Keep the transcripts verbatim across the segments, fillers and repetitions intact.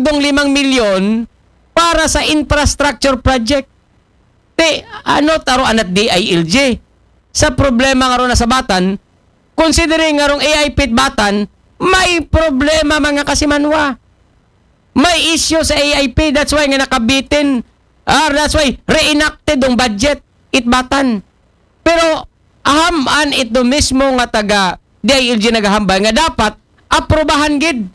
dong limang milyon para sa infrastructure project. Ti, ano taro anat D I L G? Sa problema nga ron na sa Batan, considering nga rong A I P it Batan, may problema, mga kasimanwa. May issue sa A I P, that's why nga nakabitin, ah, that's why reenacted dong budget it Batan. Pero ahaman ito mismo nga taga D I L G nagahambal nga dapat aprobahan gid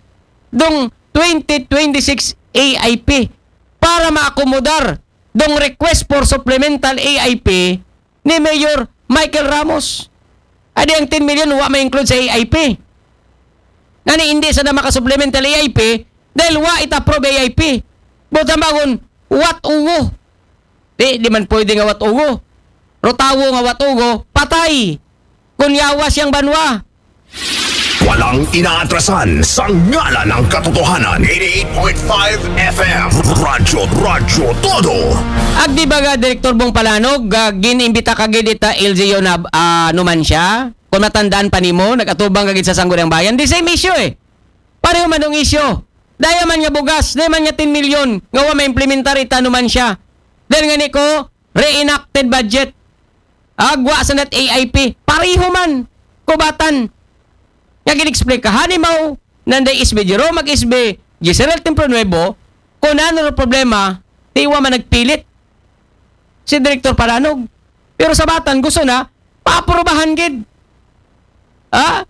dong twenty twenty-six A I P para maakomodar dong request for supplemental A I P ni Mayor Michael Ramos. Adi ang ten million wa ma-include sa A I P. Ngani hindi sa na maka-supplemental A I P dahil wa it approve A I P. Buta bangon, what uwo? Di, di man pwede nga wat ugo. Ro tawo nga wat ugo, patay. Kun yawa siyang banwa. Walang inaatrasan sa ngalan ng katotohanan. eighty-eight point five F M. Radyo, Radyo Todo. Agdi ba ga Direktor Bong Palanog, ah, ginimbita ka gid ita L G U na, ah, numansya? Kung matandaan pa nimo, nag-atubang ka gid sa Sangguniang Bayan. The same issue eh. Pareho man ang issue. Daya man nga bugas, daya man nga ten million, nga wa ma-implementar ita numansya. Dahil nga ni ko, reenacted budget. Agwa sa nat A I P, pareho man, kubatan. Nga gin-explain ka, hanimaw, nanday S B Jero, mag-S B, Giselle Templo Nuevo, kung ano ang problema, tiwa man nagpilit si Direktor Palanog. Pero sa Batan, gusto na, paaprubahan gid. Ha?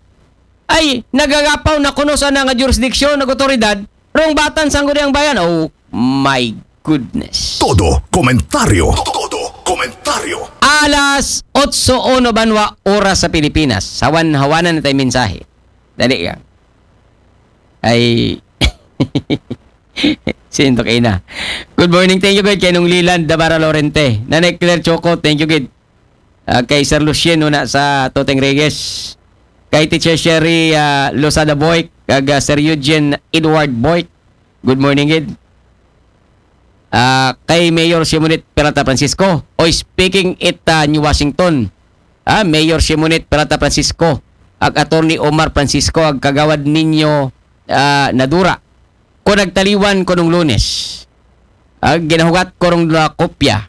Ay, nagagapaw na kuno sa na nga jurisdiction, nag otoridad, rong Batan, Sangguniang Bayan. Oh my goodness. Todo komentaryo. Todo komentaryo. Alas otso uno banwa oras sa Pilipinas. Hawan-hawanan na tayo mensahe. Dali ka. Ay. Sinto kayo na. Good morning. Thank you, good. Kay nung Liland, Dabara Lorente. Nanay Claire Choco, thank you, good. Ah, kay Sir Lucien, una sa Toteng Reyes. Kay Teacher Sherry ah, Lozada Boy. Kag ah, Sir Eugene Edward Boy. Good morning, good. Ah, kay Mayor Simonit Peralta Francisco. Oy, speaking it ah, New Washington. Ah, Mayor Simonit Peralta Francisco. Ag Attorney Omar Francisco, ag Kagawad Ninyo ah, Nadura. Ko nagtaliwan ko nung Lunes. Ag ginahugat ko rong dua kopya.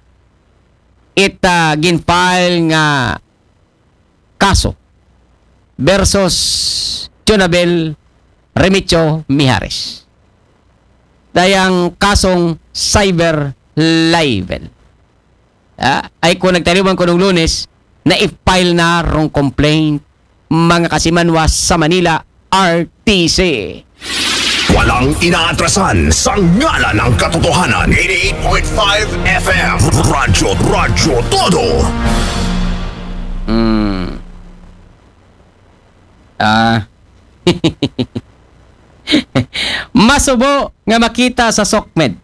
It ah, gin-file nga kaso versus Jonabel Remedios Mijares. Dayang kasong cyber libel. Ah, ay ko nagtaliwan ko nung Lunes, na-file na rong complaint, mga kasimanwa sa Manila, R T C. Walang inaatrasan sa ngalan ng katotohanan. eighty-eight point five F M. Radyo, Radyo Todo. Hmm. Ah. Masubo nga makita sa SOCMED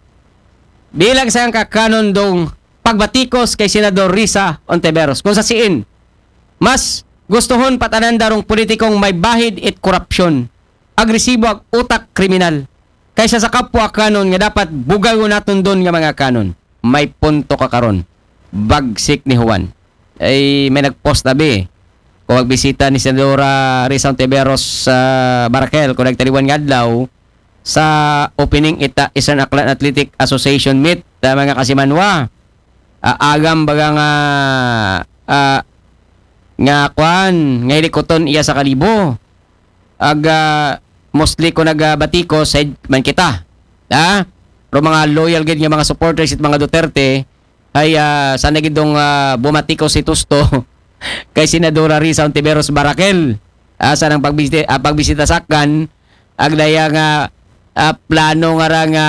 bilang sa ang kakanon dong pagbatikos kay Senador Risa Ontiveros. Kung sa siin, mas gustuhon patanan darong politikong may bahid it korupsyon, agresibo ag utak kriminal, kaysa sa kapwa kanon nga dapat bugagon naton don nga mga kanon. May punto ka karon. Bagsik ni Juan. Ay, may nag-post abi. Kung magbisita ni Senadora Risa Ontiveros sa Barakel, kung nagtaliwan nga adlaw, sa opening ita Eastern Aklan Athletic Association meet, ah, mga kasimanwa. Ah, agam baga nga, ah, nga kwan, nga hilikuton iya sa kalibo. Ag, ah, mostly ko nagabati ko side man kita. Ha? Pero mga loyal gid nga mga supporters it mga Duterte, ay, ah, sana gid dong, ah, bumati ko si Tusto kay Senadora Risa Ontiveros Barakel. Ah, sa nang pagbisita, ah, pagbisita sakkan, ag daya nga, ah, plano nga ra nga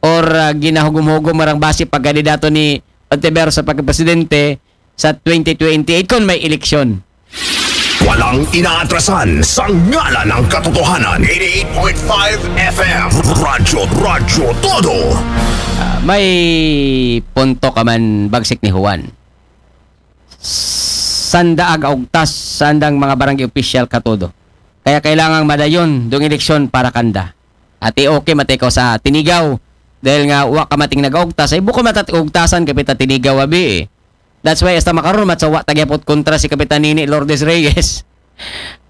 or, ah, ginahugom-hugom nga rang base pagkandidato ni Ontiveros sa pagkapresidente sa twenty twenty-eight kung may eleksyon. Walang inaatrasan sa ngalan ng katotohanan. eighty-eight point five F M. Radyo, Radyo Todo. Ah, may punto ka man, bagsik ni Juan. Sanda ag augtas, sandang mga barangay official ka todo. Kaya kailangang madayon dong eleksyon para kanda. At i-okay matay ko sa tinigaw. Dahil nga wa ka mating nag-augtas, ay buko matat ugtasan kapita tinigaw abi eh. That's why hasta makaron matsawa tagyapot kontra si Kapitan Nini Lourdes Reyes.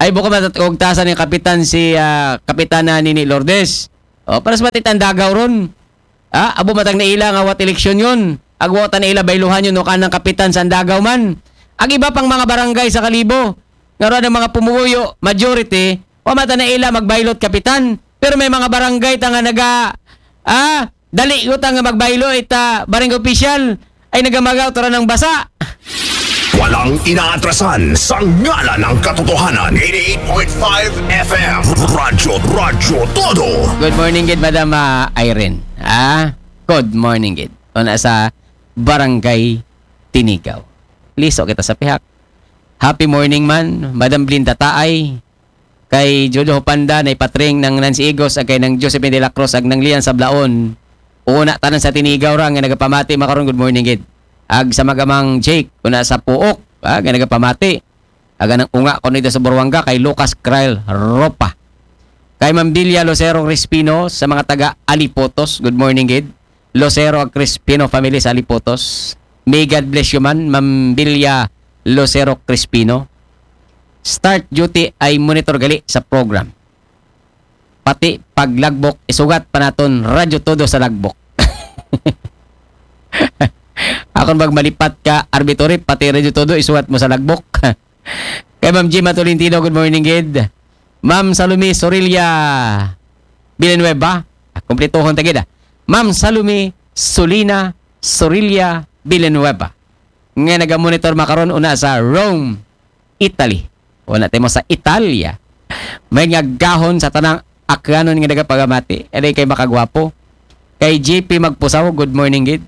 Ay buko matat ugtasan ni Kapitan si ah, Kapitana Nini Lourdes. O, para sa matitang Dagaw ron. Ah, abo matang naila nga wat eleksyon yun. Agwa ta naila bayluhan yun o kanang kapitan sa Dagaw man. Ang iba pang mga barangay sa Kalibo, nga ron ang mga pumuguyo, majority, wa mata naila magbaylot kapitan. Pero may mga barangay ta nga naga, ah, dali ko ta nga magbaylo ita barangay official ay nagamagaw tara ng basa. Walang inaatrasan sa ngalan ng katotohanan. eighty-eight point five F M. Radyo, Radyo Todo. Good morning gid, Madam ah, Irene. Ah, good morning gid. Una sa Barangay Tinigaw. Liso kita sa pihak. Happy morning man, Madam Blinda Taay. Kay Jojo Hopanda na ipatring ng Nancy Igos ag kay ng Josephine de la Cruz ag ng Lian Sablaon. Una tanan sa Tinigaw ra nga nagapamati makaron, good morning gid. Ag sa magamang Jake, una sa Puok, ah, nga nagapamati. Aga ng unga ko nito sa Buruanga kay Lucas Kyle Ropa. Kay Mambilia Lucero Crispino sa mga taga Alipotos, good morning gid. Lucero ag Crispino family sa Alipotos. May God bless you man, Mambilia Lucero Crispino. Start duty ay monitor gali sa program. Pati pag lagbok, isugat pa naton Radyo Todo sa lagbok. Akon bag malipat ka, Arbitori, pati Radyo Todo, isugat mo sa lagbok. Kay Ma'am Gima Tolentino, good morning gid. Ma'am Salome Sorilla Villanueva, ah, kumpletohon ta gid ah. Ma'am Salome Solina Sorilla Villanueva. Nga nagamonitor makaron una sa Rome, Italy. Wala tayo mo sa Italia. May nga gahon sa tanang akyanon nga nagapagamati. Ere kay makagwapo. Kay J P Magpusaw, good morning gid.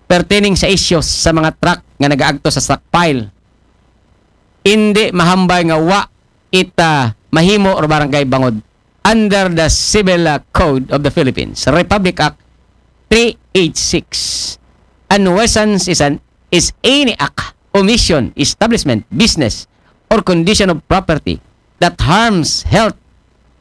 Pertaining sa issues sa mga truck nga nagaagto sa stockpile, hindi mahambay nga wa ita mahimo or barangay bangod under the Civil uh, Code of the Philippines, Republic Act three eight six. A nuisance is an is any act, omission, establishment, business, or condition of property that harms health,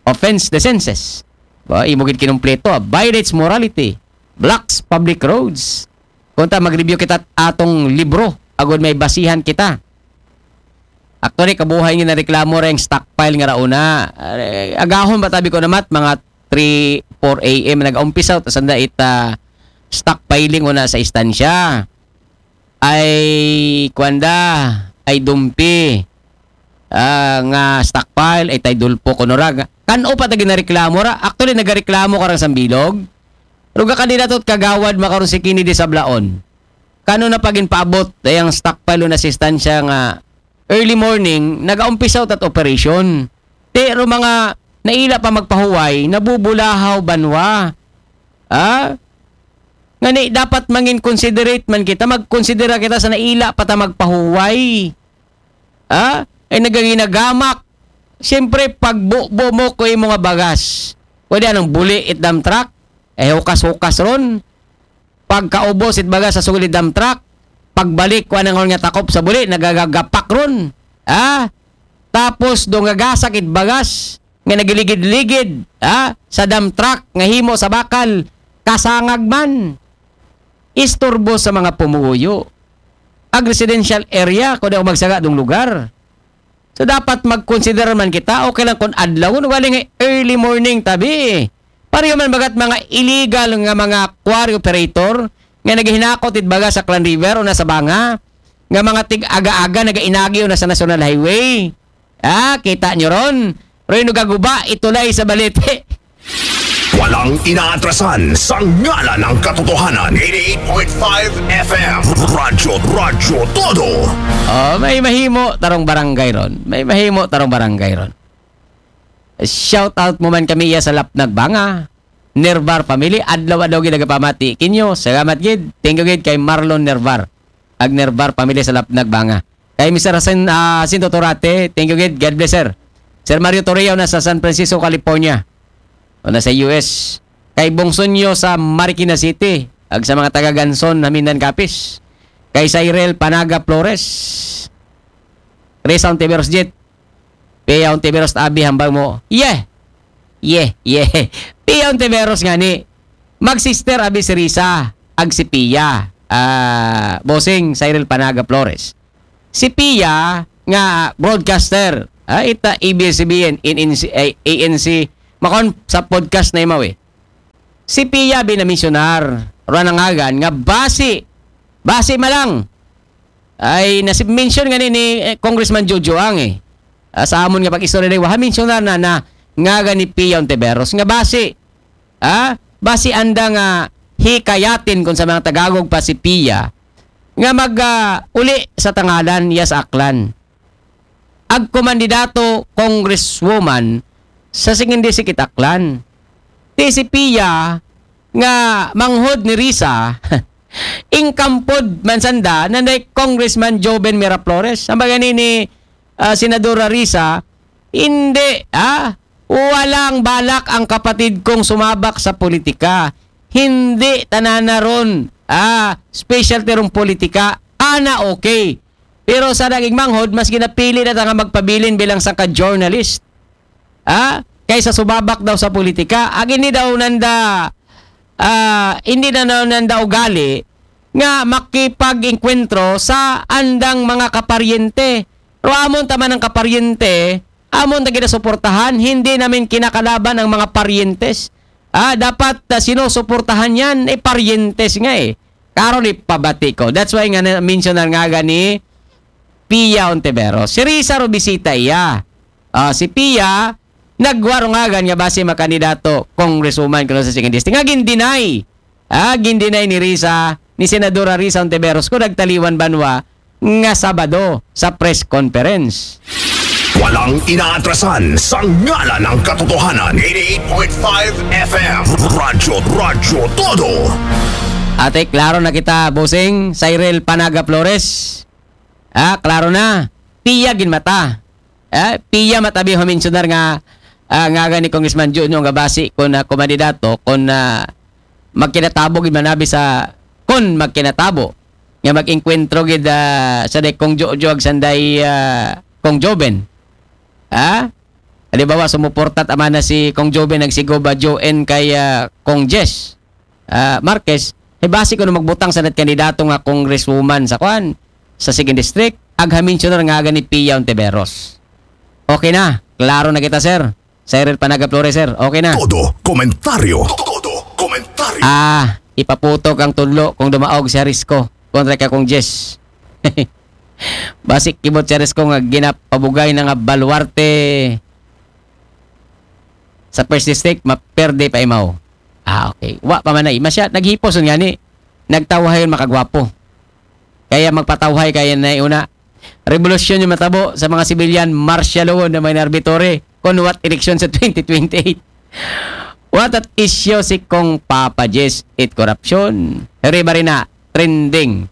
offends the senses. Ba, imo gid kinumpleto, ah, violates morality, blocks public roads. Kung ta mag-review kita atong libro, agud may basihan kita. Actually, kabuhay nga nareklamo ra yung stockpile nga rauna. Eh, agahon ba tabi ko namat, mga three, four a m nag-umpisa, tapos anda ita stockpiling una sa istansya. Ay, kwanda, ay dumpi, ah, nga stockpile, ay tay dulpo, kunurag. Kan-o pa ta ginareklamo ra? Actually, nagareklamo ka rang sambilog. Ruga ka nila to't kagawad makaron si Kini di Sablaon. Kano na pagin paabot, ay ang stockpile na asistansya nga early morning, nagaumpisa tat operation. Pero mga naila pa magpahuway, nabubulahaw banwa. Ah? Ngani, dapat mangin considerate man kita, magkonsidera kita sa naila pa ta magpahuway. Ah? Ay nagaginagamak. Siyempre, pag bubo mo ko yung mga bagas, pwede anong buli it dump truck? Eh, hukas-hukas ron. Pagkaubos it bagas sa sugod it dump truck, pagbalik ko anang nga takop sa buli, nagagagapak ron. Ah? Tapos, dong gagasak it bagas, nga nagiligid-ligid, ah, sa dump truck, nga himo sa bakal, kasangag man. Isturbo sa mga pumuyo. Ag residential area, kung daw magsaga dong lugar. So, dapat mag-consider man kita, okay lang kung adlaw, wala nga early morning tabi. Pareho man bagat mga illegal nga mga quarry operator, nga naghinakot it baga sa Clan River o nasa Banga, nga mga tig-aga-aga nagainagi o nasa National Highway. Ah, kita nyo ron? Roy no gaguba, itulay sa balete. Walang inaatrasan sa ngalan ng katotohanan. eighty-eight point five F M. Radyo, Radyo Todo. Oh, may mahimo tarong barangay ron. May mahimo tarong barangay ron. Shout out mo man kami iya sa Lapnag Banga. Nervar family, adlaw-adlaw gid nagapamati kinyo. Salamat gid. Thank you gid kay Marlon Nervar. Ag Nervar family sa Lapnag Banga. Kay Mister Jacinto Torate, thank you gid. God bless, sir. Sir Mario Torreon na sa San Francisco, California. O na sa U S. Kay Bongsunyo sa Marikina City. Ag sa mga taga Ganson, Hamindan, Capiz. Kay Cyril Panaga Flores. Risa Ontiveros Jet. Pia Ontiveros tabi hambang mo. Yeah. Yeah, yeah. Pia Ontiveros nga ni. Mag-sister abi si Risa. Ag si Pia. Ah, Bossing Cyril Panaga Flores. Si Pia nga broadcaster. Ah, ita A B S C B N, A N C, ay, A N C, Makon sa podcast na imaw eh. Si Pia binamisyonar, ruwa nangagan nga basi, basi malang. Ay, nasi-mention nga ni, ni eh, Congressman Jojo Ang eh. Ah, sa amon nga pag-istorya day, waha mensionar na, na ngagan ni Pia Ontiveros nga basi. Ah, basi anda nga hikayatin kung sa mga Tagalog pa si Pia nga mag ah, uli sa tangalan iya sa Aklan. Ag kumandidato congresswoman sa singin disikit Aklan. Ti si Pia nga manghod ni Risa, ingkampod man sanda nanday Congressman Joven Miraflores. Ang bagay ni, ni ah, Senadora Risa, hindi, ah, walang balak ang kapatid kong sumabak sa politika. Hindi tanana ron, ah, specialty rong politika. Ana okay. Pero sa naging manghod, mas ginapili na ta nga magpabilin bilang sangka journalist. Ah, kaysa sumabak daw sa politika. Ag hindi daw nanda, ah, hindi na daw nanda ugali nga makipag-engkwentro sa andang mga kaparyente. Pero amon taman ang kaparyente, amon ta ginasuportahan, hindi namin kinakalaban ang mga paryentes. Ah, dapat ah, sinusuportahan yan, eh, paryentes nga eh. Karon ipabati ko. That's why nga na-mention na nga ni Pia Ontiveros. Si Risa ro bisita iya. Ah, si Pia, nagwa ro ngagan nga basi makandidato congresswoman kuno sa second district. Nga gindinay. Ah, gindinay ni Risa, ni Senadora Risa Ontiveros ko nagtaliwan banwa nga Sabado sa press conference. Walang inaatrasan sa ngalan ng katotohanan. eighty-eight point five F M. Radyo, Radyo Todo. Ate, klaro na kita, Bossing Cyril Panaga Flores. Ah, klaro na. Pia ginmata. Ah, Pia matabi ho mensionar nga ah, ngagan ni Congressman Junio nga basi kung ah, kumandidato, kung ah, magkinatabo gid manabi sa, kung magkinatabo, nga mag-engkwentro gid ah, sa day Kong Jojo ag sanday ah, Kong Joven. Ha? Halimbawa, sumuportat amana si Kong Joven ag si Goba Joen kay ah, Kong Jess ah, Marquez, eh basi kuno magbutang sa nat kandidato nga congresswoman sa kwan, sa second district, ag ha-mensionar ngagan ni Pia Ontiveros. Okay na, klaro na kita, sir. Cyril Panaga Flores, sir. Okay na. Todo komentaryo. Todo komentaryo. Ah, ipaputok ang tudlo kung dumaog si Jarisko kontra kay Kong Jess. Basi kibot si Jarisko nga ginapabugay na nga baluarte sa first district, maperde pa imaw. Ah, okay. Wa pa man ay. Masya, naghipos nga ni. Nagtawhay makagwapo. Kaya magpatawhay kaya na una. Revolusyon yung matabo sa mga civilian, martial law na may narbitore. Kung what election sa twenty twenty-eight. What at issue si Kong Papa Jess it corruption? Heri ba rin na trending?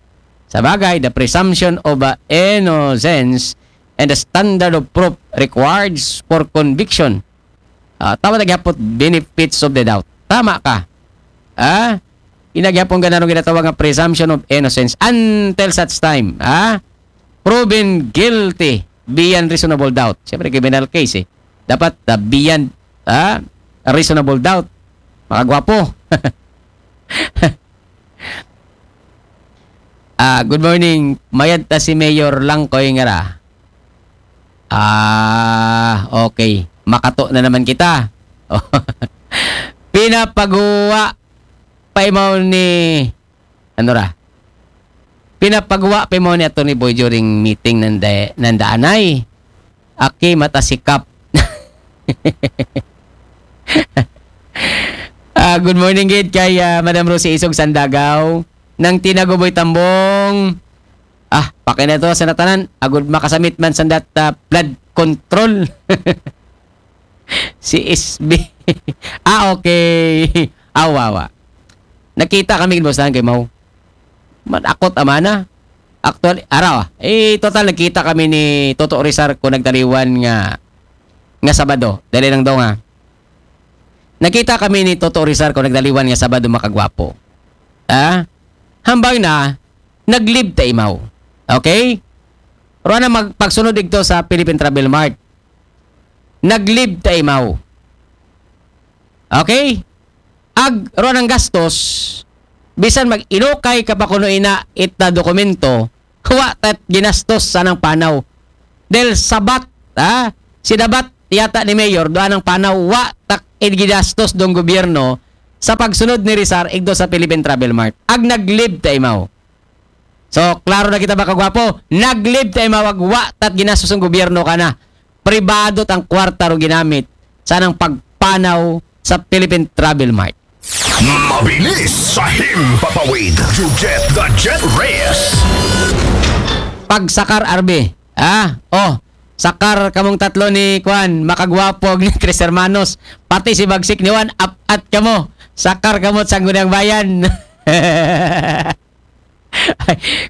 Sa bagay, the presumption of uh, innocence and the standard of proof required for conviction. Ah, tama na gyapon benefits of the doubt. Tama ka. Ah? Inagyapon ka na nung ginatawag nga presumption of innocence until such time. Ah? Proven guilty beyond reasonable doubt. Siyempre, criminal case eh. Dapat uh, beyond ah, reasonable doubt. Makagwapo. Ah, good morning. Mayad ta si Mayor Langkoy nga ra. Ah, okay. Makato na naman kita. Pinapaguwa pa imaw ni ano ra? Pinapaguwa pa imaw ni Attorney Boy during meeting nanda, nandaanay. Aki mata sikap. Ah, good morning gid kay ah, Madam Rosie Isog Sandagaw. Nang Tinaguboy Tambong. Ah, paki na to sa natanan. Agud makasamit man sa dat ah, flood control. Si S B. Ah, okay. Awa, awa. Nakita kami gid, boss, lang kay Mau. Manakot amana. Actually, araw. Eh, total, nakita kami ni Toto Rizar ko nagtaliwan nga nga Sabado. Dali lang daw nga. Nakita kami ni Toto Rizar ko nagtaliwan nga Sabado makagwapo. Ah? Hambang na, nag-leave ta imaw. Okay? Pero na mag, pagsunod igto sa Philippine Travel Mart. Nag-leave ta imaw. Okay? Ag, ro ng gastos, bisan mag-inukay ka pa kuno ina ita dokumento, wa tat ginastos sa nang panaw. Dahil sabat, ha? Sinabat yata ni Mayor, doon ang panaw, wa tak-, eh, ginastos dong gobyerno sa pagsunod ni Rizar igdo sa Philippine Travel Mart. Ag nag-leave ta imaw. So, klaro na kita, mga kagwapo. Nag-leave ta imaw, ag wa tat ginastos ang gobyerno kana. Pribado tang kwarta ro ginamit sa nang pagpanaw sa Philippine Travel Mart. Mabilis sa himpapawid. You get the Jet Reyes. Pagsakar, R B. Ah, oh, sakar kamong tatlo ni Kwan, makagwapo ni Tres Hermanos. Pati si Bagsik ni Juan, apat kamo. Sakar kamo sa Sangguniang Bayan.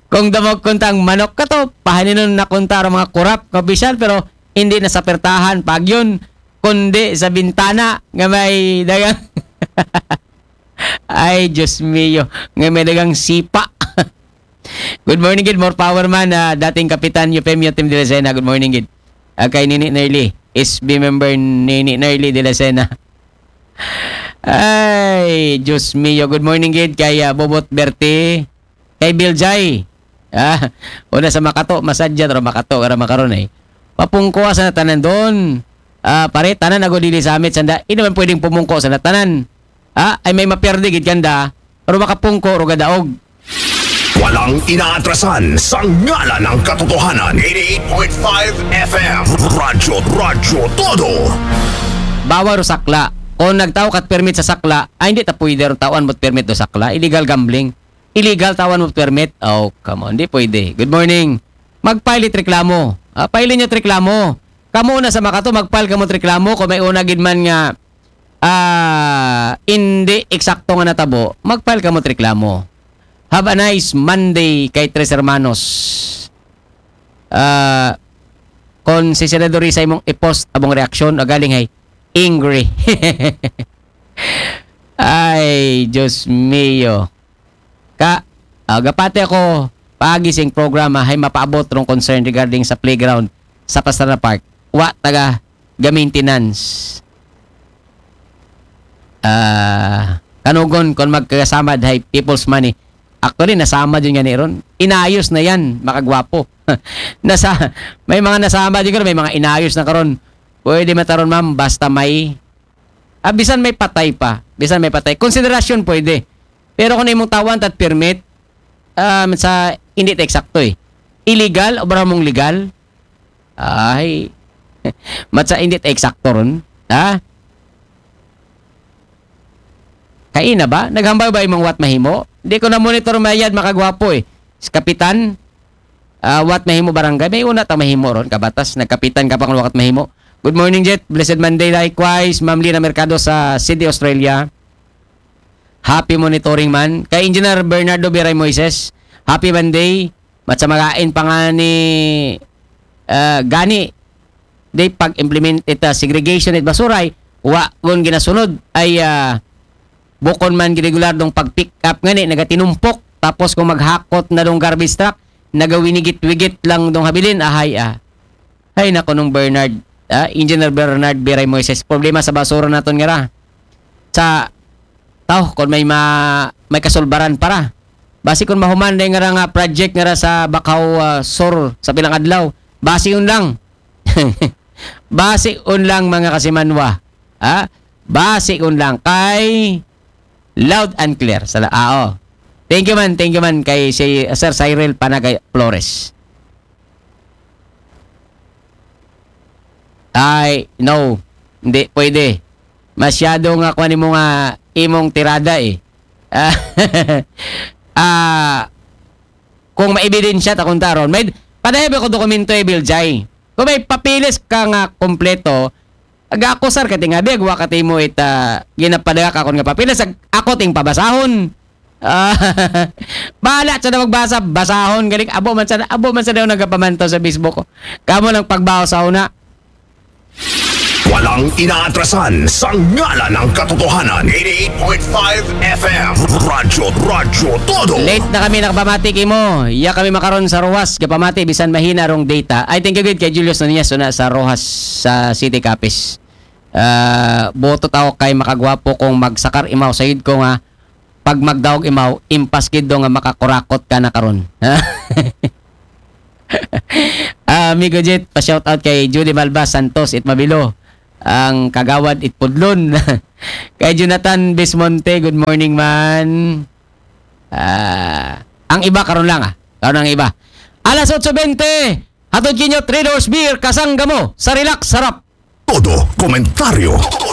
Kung damog kuntang manok ka to, pahaninon na kunta ang mga kurap nga opisyal, pero hindi na sa pertahan, pag yun, kundi sa bintana nga may dagang Ay, Diyos mio, nga may dagang sipa. Good morning, gid. More power man, ah, dating Kapitan Eufemio Tim de la Sena. Good morning, gid. Ah, kay Nini Nerly. S B member Nini Nerly de la Sena. Ay, Diyos mio. Good morning, gid. Kay, ah, Bobot Berti. Kay Bill Jai. Ah, una sa makato, masadya, pero makato, kara makaron eh. Papungko sa natanan doon. Ah, pare, tanan ako dili sa amit, sanda. Hindi naman pwedeng pumungko sa natanan. Ah, ay may maperde gid kanda, pero makapungko, ro gadaog. Walang inaatrasan sa ngalan ng katotohanan. Eighty-eight point five F M. Radyo, Radyo Todo. Bawal ro sakla. Kung nagtao kat permit sa sakla, ay hindi ta pwede ro tawan mo't permit do sakla. Illegal gambling. Illegal tawan mo't permit. Oh, come on. Di pwede. Good morning. Mag-file it reklamo. Ah, file ninyo it reklamo. Kamo na sa makato, mag-file kamo it reklamo kung may una gid man nga ah, hindi eksakto nga natabo, mag-file kamo it reklamo. Have a nice Monday kay Tres Hermanos. Ah, kung si Senador Risa imong i-post abong reaksyon, o galing hay angry. Ay, Diyos mio. Ka, ah, gapati ako, paagi sing programa, hay mapaabot rong concern regarding sa playground sa Pastrana Park. Wa taga ga-maintenance. Ah, kanugon kon magkagasamad hay people's money. Actually, nasamad yun nga ni ron. Inayos na yan, makagwapo. Nasa, may mga nasamad yun, may mga inayos na karon. Pwede mataron, ma'am, basta may, ah, bisan may patay pa. Bisan may patay. Konsiderasyon pwede. Pero kung imong tawan tat permit, um, sa, hindi ta eksakto eh. Illegal, o ba mong legal? Ay. Matsa, hindi ta eksakto ron. Ha? Kaina ba? Naghambal ba imong wat mahimo? Di ko na monitor mayad, makagwapo eh. Si Kapitan, ah, wat mahimo barangay. May una ta mahimo ron, kabatas. Nagkapitan ka pa kung wat mahimo. Good morning, Jet. Blessed Monday, likewise. Ma'am Lina Mercado sa Sydney, Australia. Happy monitoring man. Kay Engineer Bernardo Biray Moises, happy Monday. Mat sa magain pa nga ni, ah, gani, di pag-implement ita segregation it basuray, wa gun ginasunod ay, ah, bukon man regular dong pag-pick up ngani, nagatinumpok. Tapos kung maghakot na dong garbage truck, nagawinigit-wigit lang dong habilin, ahay, ah. Ay, naku, nung Bernard, ah, Engineer Bernard Biray Moises, problema sa basura naton nga ra. Sa, tao, kung may ma-, may kasulbaran para. Basi kung mahuman na nga ra nga project nga ra sa Bakaw, ah, Sur sa pilang adlaw. Basi yun lang. Basi yun lang, mga kasimanwa. Ha? Basi yun lang. Kay loud and clear. Sa la-, ah, oh. Thank you man, thank you man kay si Sir Cyril Panagay Flores. Ay, no. Hindi pwede. Masyado nga kuan nimo nga imong tirada eh. Ah, ah, kung maebidensya ta kung taron, may padayon ko dokumento eh, Bill Jai. Kung may papeles ka nga kompleto, aga ako sir, kating abi, agwa ka timo ita, ginapadala ka akon nga papeles, ag-, ako ting pabasahon. Ah, bahala sa na magbasa, basahon, galing, abo man sa, abo man sa daw nagapamantaw sa Facebook ko. Kamo lang pagbaho sa una. Walang inaatrasan sa ngalan ng katotohanan. Eighty-eight point five F M. Radyo, Radyo Todo. Late na kami nakapamati kimo. Iya kami makaron sa Roxas, gapamati bisan mahina rong data. Ay, thank you gid kay Julius Nunez, una sa Roxas, sa City Capiz. Ah, boto tao kay makagwapo kung magsakar imaw sayod ko nga pag magdaog imaw, impas gid do nga makakurakot ka na karon. Ah, Amigo Jet, pa-shout out kay Judy Malva Santos, it Mabilo. Ang Kagawad Itpudlon. Kay Jonathan Bismonte, good morning man. Ah, ang iba karon lang, ah. Karon ang iba. Alas otso bente, hatod kinyo Three Doors Beer, kasangga mo sa relax, sarap. Todo komentaryo, todo